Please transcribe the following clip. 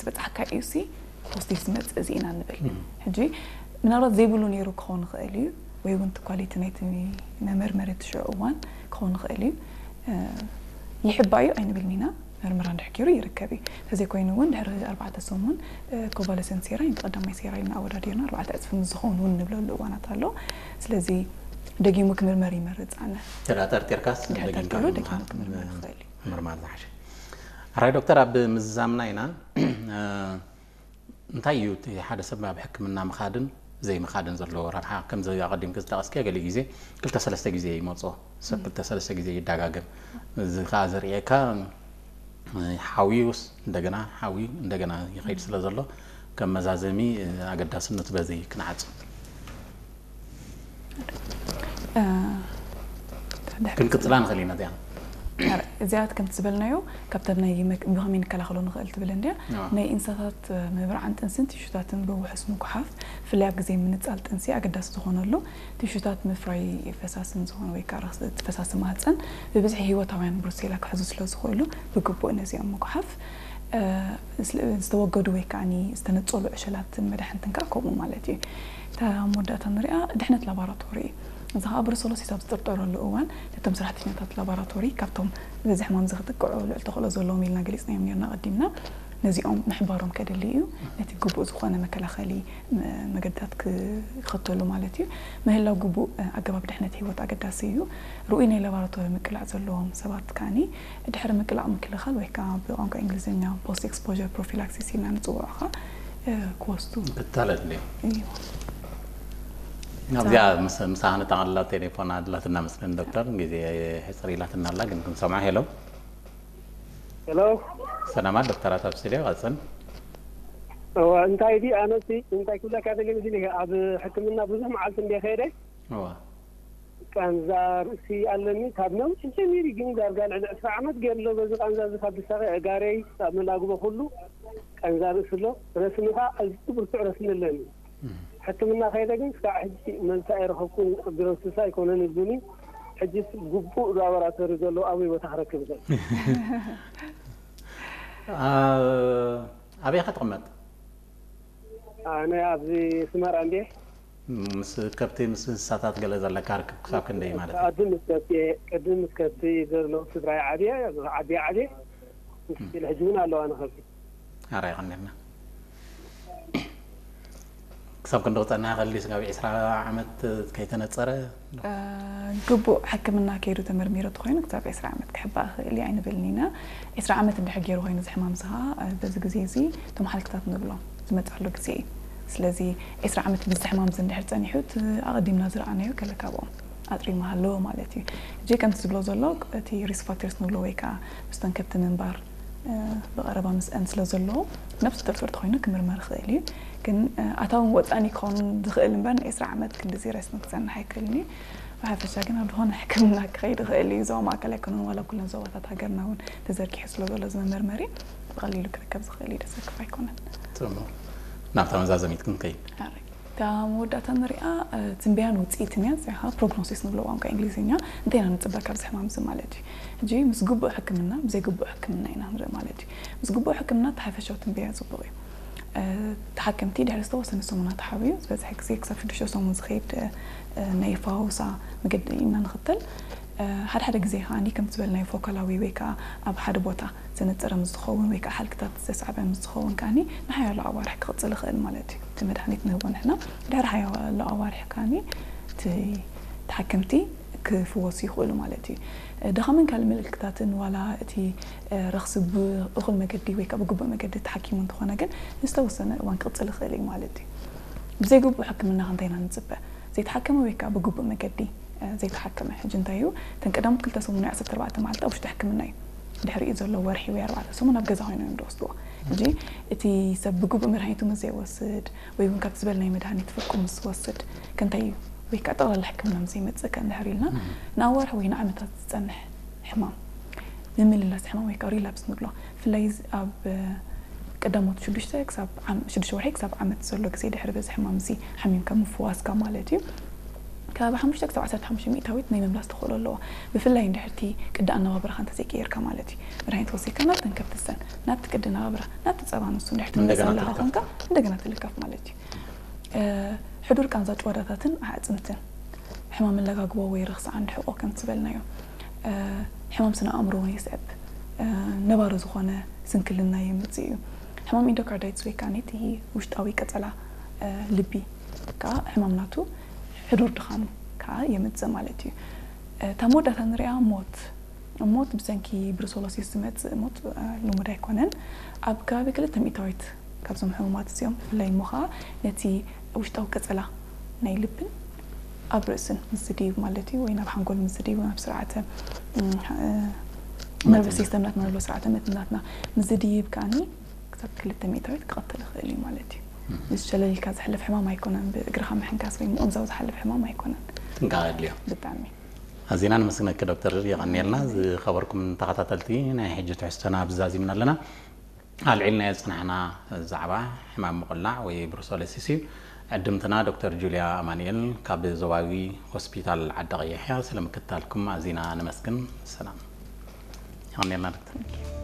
ዝበፅሓካ እዩ ሲ ፖዚቲቭ ዝመፅእ እዚ ኢና ንብል። ሕጂ ምናልባት ዘይብሉ ነይሩ ክኸውን ይኽእል እዩ፣ ወይ እውን እቲ ኳሊቲ ናይቲ መመርመሪ እቲ ሽዑ እዋን ክኸውን ይኽእል እዩ። ይሕባ እዩ ኣይንብልን ኢና። መርምራ እንድሕር ገይሩ ይርከብ እዩ። ተዘይኮይኑ እውን ድሕሪ ኣርባዕተ ሰሙን ኮቫለሰንት ሴራይ ቀዳማይ ሴራይ እናኣወዳዲርና ኣርባዕተ ዕፅፊ ምስ ዝኸውን እውን ንብለሉ እዋናት ኣሎ። ስለዚ ደጊሙ ክምርመር ይመርፅ ኣነ። ተዳጠርጢርካስ ድሕር ጠርጢሩ ደጊሙ ክምርመር ይኽእል እዩ። ምርማር ዝሓሸ። ሕራይ ዶክተር፣ ኣብ ምዝዛምና ኢና እንታይ እዩ እቲ ሓደ ሰብ ኣብ ሕክምና ምኻድን ዘይምኻድን ዘለዎ ረብሓ? ከምዚ ኣቐዲምኪ ዝጠቐስኪ ገለ ግዜ ክልተ ሰለስተ ግዜ ይመፅኦ ሰብ፣ ክልተ ሰለስተ ግዜ ይዳጋገም። እዚ ከዓ ዘርእየካ ሓውዩስ እንደገና ሓውዩ እንደገና ይኸይድ ስለ ዘሎ ከም መዛዘሚ ኣገዳስነቱ በዚ ክንዓፁ። ክንቅፅላ ንኽእል ኢና እዚኣ። እዚኣት ከምቲ ዝበልናዮ ካብታ ናይ ብኸመይ ንከላኸሎ ንኽእል ትብል እንድያ። ናይ እንስሳታት ምብርዓን ጥንስን ቲሹታትን ብውሑስ ምጉሓፍ፣ ብፍላይ ኣብ ግዜ ምንፃል ጥንሲ ኣገዳሲ ዝኾነሉ ቲሹታት ምፍራይ ፈሳስን ዝኾነ ወይ ከዓ እቲ ፈሳሲ ማህፀን ብብዝሒ ህይወታውያን ብሩሴላ ክሕዙ ስለ ዝኽእሉ ብግቡእ ነዚኦም ምጉሓፍ። ዝተወገዱ ወይ ከዓ ዝተነፀሉ ዕሸላትን መድሓንትን ከዓ ከምኡ ማለት እዩ። እታ መወዳእታ ንሪኣ ድሕነት ላቦራቶሪ እዩ። እዚ ከዓ ብሩሰሎሲስ ኣብ ዝጥርጠረሉ እዋን ነቶም ሰራሕተኛታት ላቦራቶሪ ካብቶም በዚ ሕማም እዚ ክጥቅዑ ልዑል ተኽእሎ ዘለዎም ኢልና ገሊፅናዮም ነርና ቀዲምና፣ ነዚኦም ምሕባሮም ከድሊ እዩ። ነቲ ግቡእ ዝኾነ መከላኸሊ መገድታት ክኽተሉ ማለት እዩ። ምህላው ግቡእ ኣገባብ ድሕነት ህይወት ኣገዳሲ እዩ። ርኡይ ናይ ላቦራቶሪ ምቅላዕ ዘለዎም ሰባት ከዓኒ ድሕሪ ምቅላዕ ምክልኻል ወይ ከዓ ብቋንቋ እንግሊዝኛ ፖስት ኤክስፖር ፕሮፊላክሲስ ኢልና ንፅውዖ ከዓ ክወስዱ ክታለት እንዲ እዩ። ኣብዚኣ ምስ- ምሳኻ ንጠቓልላ ቴሌፎን ኣድላትና መስለን ዶክተር፣ ግዜ ሕፅር ኢላትና ኣላ ግን ክንሰምዓ። ሄሎ ሄሎ ሰላማት ዶክተራት ኣብ ስቱዲዮ ቀፅል። እዋ እንታይ ዲ ኣነሲ እንታይ ክብለካ ደሊ መስሊ ኣብ ሕክምና ብዙሕ መዓልቲ እንደ ከይደ እዋ ቃንዛ ርእሲ ኣለኒ ካብ ነውሒ ጀሚሩ ግን ዳርጋ ልዕሊ ዕስራ ዓመት ገይሩ ኣሎ በዚ ቃንዛ እዚ ካብ ድሳኸ እጋረይ ካብ መላግቦ ኩሉ ቃንዛ ርእሲ ኣሎ ረስኒ ከዓ ኣዝዩ ብርቱዕ ረስኒ ኣለኒ ሕክምና ከይደ ግን ክሳዕ ሕጂ መልሲ ኣይረኸብኩን ዲረስሳ ኣይኮነን እብሉኒ ሕጂስ ግቡእ ላቦራቶሪ ዘሎ ኣበይ ቦታ ክረክብ ይኽእል ኣበይ ኢኻ ትቕመጥ? ኣነ ኣብዚ ስመራ እንዴ ምስ ከብቲ ምስ እንስሳታት ገለ ዘለካ ርክብ ክሳብ ክንደይ ማለት እዩ? ቅድም ምስ ከብቲ ቅድም ምስ ከብቲ ዘሎ ስድራይ ዓብየ ዓብየ ዓብየ ምስ ሕጂ እውን ኣለዋ ንከብቲ ኣራ ይቐንልና ክሳብ ክንዲ ክፀንሕ ከሊ ስጋብ ዒስራ ዓመት ከይተነፀረ ግቡእ ሕክምና ከይዱ ተመርሚሩ ተኮይኑ ክሳብ ዒስራ ዓመት ክሕባእ ክእል እዩ ኣይንብልን ኢና። ዒስራ ዓመት እንድሕር ገይሩ ኮይኑ እዚ ሕማም እዚ ከዓ በዚ ግዜ እዚ እቶም ሓልክታት ንብሎም ዝመፅኣሉ ግዜ እዩ። ስለዚ ዒስራ ዓመት ብዚ ሕማም እዚ እንድሕር ፀኒሑ እቲ ኣቐዲምና ዝረኣናዮ ገለ ካብኦም ኣጥሪሙ ሃለዎ ማለት እዩ። እጂ ከምቲ ዝብሎ ዘሎ እቲ ሪስክ ፋክተርስ ንብሎ ወይ ከዓ ምስቶም ከብቲ ምንባር ብቐረባ ምስአን ስለ ዘለዎ ነብሱ ጥርጥር ተኮይኑ ክምርመር ይኽእል እዩ። ግን ኣታውን ወፃእን ክኸውን ዝኽእል እምበር ንዒስራ ዓመት ክንዲ ዜረስኒ ክፀንሕ ኣይክእልን እዩ። ብሓፈሻ ግን ኣብ ዝኾነ ሕክምና ክኸይድ ይኽእል እዩ። ዞባ ማእከል ኣይኮነን ዋላ ኩለን ዞባታት ሃገርና እውን ተዘርጊሑ ስለ ዘሎ እዚ መመርመሪ ብቐሊሉ ክርከብ ዝኽእል እዩ። ደሰክፍ ኣይኮነን። ፅቡቕ ናብታ መዛዘሚት ክንከይድ እታ መወዳእታ ንሪኣ ትንበያን ውፅኢትን እያ እዚኣ ከዓ ፕሮግኖሲስ ንብሎ ቋንቋ እንግሊዝኛ እንታይ ኢና ንፅበ ካብዚ ሕማም እዚ ማለት እዩ። ሕጂ ምስ ግቡእ ሕክምና ብዘይ ግቡእ ሕክምና ኢና ንርኢ ማለት እዩ። ምስ ግቡእ ሕክምና እቲ ሓፈሻዊ ትንበያ ፅቡቕ እዩ። ተሓከምቲ ድሕሪ ዝተወሰነ ሰሙናት ሓብዩ ዝበዝሐ ግዜ ክሳብ ሽዱሽተ ሰሙን ዝኸይድ ናይ ፋውሳ መገዲ ኢና ንኽተል። ሓደ ሓደ ግዜ ከዓ ከምቲ ዝበልናዮ ፎካላዊ ወይ ከዓ ኣብ ሓደ ቦታ ዘነፀረ ምስ ዝኸውን ወይ ከዓ ሓልክታት ዘስዓበ ምስ ዝኸውን ከዓ ንሓያሎ ኣዋርሕ ክቕፅል ይኽእል ማለት እዩ። እቲ መድሃኒት ንህቦ ንሕና ድሕሪ ሓያሎ ኣዋርሕ ከዓ እቲ ተሓከምቲ ክፍወሱ ይኽእሉ ማለት እዩ። ድኻምን ካልእ ምልክታትን ዋላ እቲ ረኽሲ ብእኹል መገዲ ወይ ከዓ ብግቡእ መገዲ ተሓኪሙ እንተኾነ ግን ንዝተወሰነ እዋን ክቕፅል ይኽእል እዩ ማለት እዩ። ብዘይግቡእ ሕክምና ክንታይ ኢና ንፅበ? ዘይተሓከመ ወይ ከዓ ብግቡእ መገዲ ዘይተሓከመ ሕጂ እንታይ እዩ እተን ቀዳሞት ክልተ ሰሙን ወይ ዓሰርተ ኣርባዕተ መዓልቲ ኣብ ውሽጢ ሕክምና እዩ። ድሕሪኡ ዘሎ ወርሒ ወይ ኣርባዕተ ሰሙን ኣብ ገዛ ኮይኖም እዮም ዝወስድዎ። ሕጂ እቲ ሰብ ብግቡእ መድሃኒቱ ምስ ዘይወስድ ወይ እውን ካብቲ ዝበልናዮ መድሃኒት ፍርቁ ምስ ዝወስድ ከንታይ እዩ ወይ ከዓ ጠቕላላ ሕክምና ምስ ዘይመፅእ ከ እንድሕር ኢልና ንኣዋርሒ ወይ ንዓመታት ዝፀንሕ ሕማም ምምልላስ ሕማም ወይ ከዓ ሪላፕስ ንብሎ ብፍላይ ኣብ ቀዳሞት ሽዱሽተ ክሳብ ሽዱሽተ ወርሒ ክሳብ ዓመት ዘሎ ግዜ ድሕሪ በዚ ሕማም እዚ ሓሚምካ ምፍዋስካ ማለት እዩ። ካብ ሓሙሽተ ክሳብ ዓሰርተ ሓሙሽተ ሚእታዊት ናይ ምምላስ ተኽእሎ ኣለዎ። ብፍላይ እንድሕርቲ ቅዲ ኣነባብራኻ እንተዘይቀየርካ ማለት እዩ። መድሃኒት ወሲድካ ናብ ተንከፍትሰን ናብቲ ቅዲ ኣነባብራ ናብቲ ጸባ ንሱ እንድሕርቲ ትምለስ እንደገና ኣለኻ ትልከፍ። ኮንካ እንደገና ትልከፍ ማለት እዩ። ሕዱር ቃንዛ ጭዋዳታትን ኣዕፅምትን፣ ሕማም መለጋግቦ ወይ ርኽሲ ዓንዲ ሕቆ ከም ዝበልናዮ፣ ሕማም ስነ ኣእምሮ እውን የስዕብ። ነባሪ ዝኾነ ስንክልና የምፅእ እዩ። ሕማም ኢንዶካርዳይትስ ወይ ከዓ ነቲ ውሽጣዊ ቀፀላ ልቢ ከዓ ሕማም ናቱ ሕዱር ድኻኑ ከዓ የምፅእ ማለት እዩ። እታ መወዳእታ ንሪኣ ሞት። ሞት ብሰንኪ ብሩሰሎሲስ ዝመፅእ ሞት ልሙድ ኣይኮነን። ኣብ ከባቢ ክልተ ሚእታዊት ካብዞም ሕሙማት እዚኦም ብፍላይ እሞ ከዓ ነቲ ውሽጣዊ ቀፀላ ናይ ልብን ኣብ ርእስን ምስ ዝድይብ ማለት እዩ፣ ወይ ናብ ሓንጎል ምስ ዝድይብ፣ ናብ ስርዓተ ነርቨስ ሲስተም ናትና ንብሎ ስርዓተ መትንታትና ምስ ዝድይብ ከዓኒ ክሳብ ክልተ ሚእታዊት ክቐትል ይኽእል እዩ ማለት እዩ። እዚ ሸለል ኢልካ ዝሕለፍ ሕማም ኣይኮነን። ብእግርኻ ምሕንካስ ወይ ምቕንዛው ዝሓልፍ ሕማም ኣይኮነን። ጥንቃቐ የድልዮ። ብጣዕሚ ኣዚና ነመስግነኪ ዶክተር፣ የቐንየልና። ዝኸበርኩም ተኸታተልቲ፣ ናይ ሕጂ ትሕዝቶና ብዛዚምና ኣለና። ኣልዒልናዮ ዝጸናሕና ዛዕባ ሕማም ምቕላዕ ወይ ብሩሰሎሲስ እዩ። ዕድምትና ዶክተር ጁልያ ኣማኑኤል ካብ ዞባዊ ሆስፒታል ዓዲ ቀይሕ እያ። ስለ ምክትታልኩም ኣዚና ነመስግን። ሰላም። የቐንየልና ዶክተር።